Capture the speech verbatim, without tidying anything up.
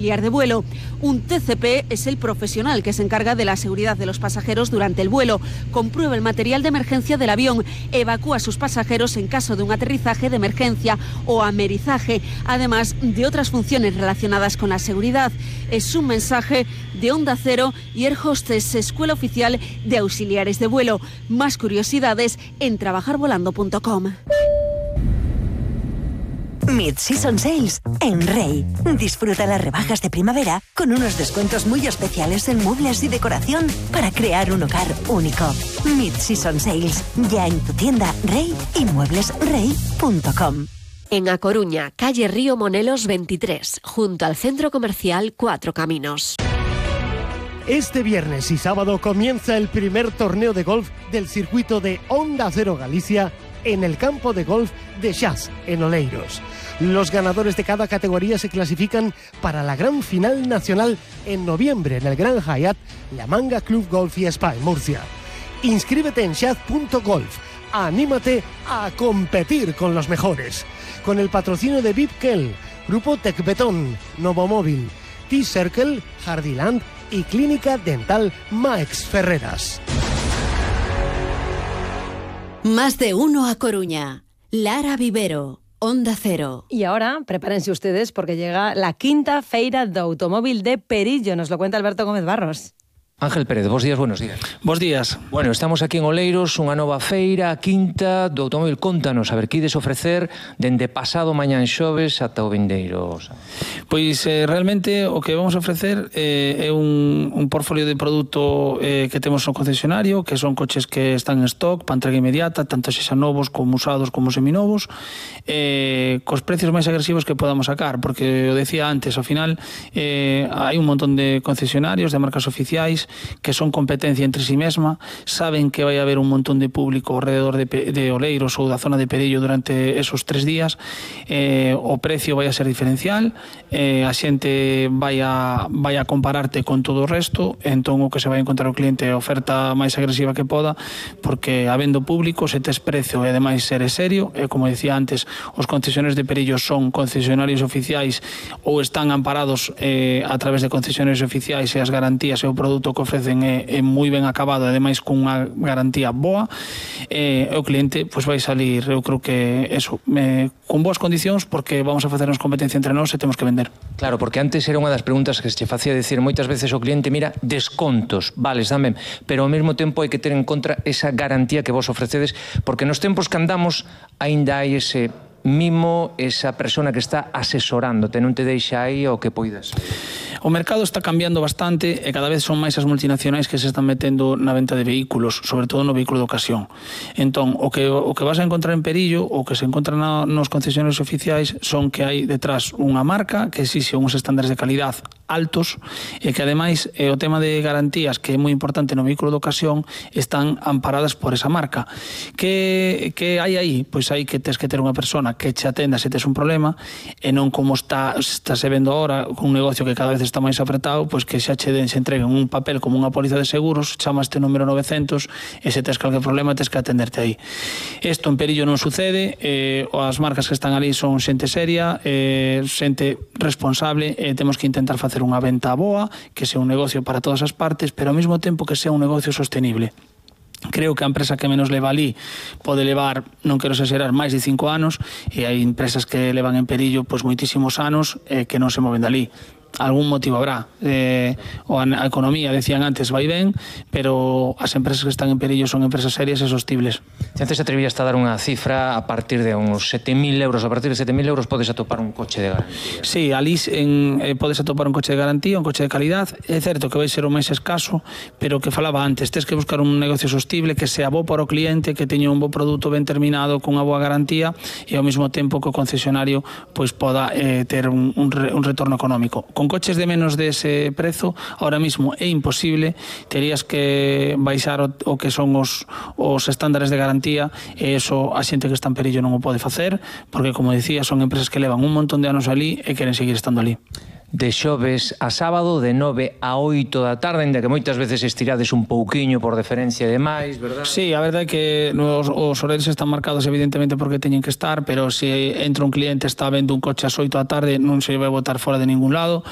de vuelo. Un T C P es el profesional que se encarga de la seguridad de los pasajeros durante el vuelo. Comprueba el material de emergencia del avión, evacúa a sus pasajeros en caso de un aterrizaje de emergencia o amerizaje, además de otras funciones relacionadas con la seguridad. Es un mensaje de Onda Cero y Air Hostess, Escuela Oficial de Auxiliares de Vuelo. Más curiosidades en trabajar volando punto com. Mid-Season Sales en Rey. Disfruta las rebajas de primavera con unos descuentos muy especiales en muebles y decoración para crear un hogar único. Mid-Season Sales, ya en tu tienda Rey y muebles rey punto com. En A Coruña, calle Río Monelos veintitrés, junto al Centro Comercial Cuatro Caminos. Este viernes y sábado comienza el primer torneo de golf del circuito de Onda Cero Galicia en el campo de golf de Xas, en Oleiros. Los ganadores de cada categoría se clasifican para la gran final nacional en noviembre en el Gran Hyatt, La Manga Club Golf y Spa en Murcia. Inscríbete en xaz punto golf. Anímate a competir con los mejores. Con el patrocinio de V I P Kel, Grupo Tecbeton, Novomóvil, T-Circle, Jardiland y Clínica Dental Maex Ferreras. Más de uno a Coruña. Lara Vivero, Onda Cero. Y ahora, prepárense ustedes porque llega la quinta Feira do Automóvil de Perillo. Nos lo cuenta Alberto Gómez Barros. Ángel Pérez, bos días, buenos días. Bos días. Bueno, estamos aquí en Oleiros, unha nova feira, a quinta do automóvil. Contanos, a ver, que ides ofrecer dende pasado mañán xoves ata o vindeiro. Pois eh, realmente o que vamos a ofrecer eh, é un, un portfolio de produto eh, que temos no concesionario, que son coches que están en stock para entrega inmediata, tanto sexan novos como usados como seminovos, eh, cos precios máis agresivos que podamos sacar, porque o decía antes, ao final eh, hai un montón de concesionarios, de marcas oficiais, que son competencia entre sí mesma, saben que vai haber un montón de público alrededor de, de Oleiros ou da zona de Perillo durante esos tres días, eh, o precio vai a ser diferencial, eh, a xente vai a, vai a compararte con todo o resto, entón o que se vai encontrar o cliente é a oferta máis agresiva que poda, porque habendo público, se tes precio e ademais ser serio, e como decía antes, os concesionarios de Perillo son concesionarios oficiais ou están amparados eh, a través de concesionarios oficiais e as garantías e o produto que ofrecen é, é moi ben acabado, ademais con unha garantía boa, e o cliente pois vai salir, eu creo que eso, me, con boas condicións, porque vamos a facernos competencia entre nós e temos que vender. Claro, porque antes era unha das preguntas que se facía decir moitas veces o cliente, mira, descontos, vales, dame, pero ao mesmo tempo hai que ter en contra esa garantía que vos ofrecedes, porque nos tempos que andamos aínda hai ese mimo, esa persona que está asesorándote, non te deixa aí o que poidas. O mercado está cambiando bastante e cada vez son máis as multinacionais que se están metendo na venta de vehículos, sobre todo no vehículo de ocasión. Entón, o que, o que vas a encontrar en Perillo, o que se encontra na, nos concesionarios oficiais, son que hai detrás unha marca que exixe uns estándares de calidad altos e que ademais eh, o tema de garantías, que é moi importante no vehículo de ocasión, están amparadas por esa marca. Que, que hai aí? Pois hai que tes que ter unha persona que che atenda se tes un problema, e non como está, está se vendo ahora, con un negocio que cada vez está máis apretado, pois que xa che den, se entreguen un papel como unha póliza de seguros, chama este número novecentos e se tes calquer problema tes que atenderte aí. Isto en Perillo non sucede, eh, as marcas que están ali son xente seria, eh, xente responsable, e eh, temos que intentar facer unha venta boa, que sea un negocio para todas as partes, pero ao mesmo tempo que sea un negocio sostenible. Creo que a empresa que menos leva ali pode levar, non quero exagerar, máis de cinco anos, e hai empresas que levan en Perillo pois moitísimos anos e eh, que non se moven dali. Algún motivo habrá, eh, o a, a economía, decían antes, vai ben, pero as empresas que están en Perillo son empresas serias e sostibles. Se antes atrevías a dar unha cifra a partir de uns sete mil euros, a partir de sete mil euros podes atopar un coche de garantía. Sí, ali en, eh, podes atopar un coche de garantía, un coche de calidad. É certo que vai ser o máis escaso, pero que falaba antes, tes que buscar un negocio sostible, que sea bo para o cliente, que teña un bo produto ben terminado, con unha boa garantía, e ao mesmo tempo que o concesionario pois poda eh, ter un, un, re, un retorno económico. Con coches de menos de ese prezo, ahora mismo é imposible, terías que baixar o, o que son os, os estándares de garantía, e eso a xente que está en Perillo non o pode facer, porque, como dicía, son empresas que levan un montón de anos ali e queren seguir estando ali. de xoves a sábado de nove a oito da tarde, ainda que moitas veces estirades un pouquiño por deferencia e demais, verdad? Sí, a verdade é que os, os horarios están marcados evidentemente porque teñen que estar, pero se entra un cliente está vendo un coche ás oito da tarde non se vai botar fora de ningún lado.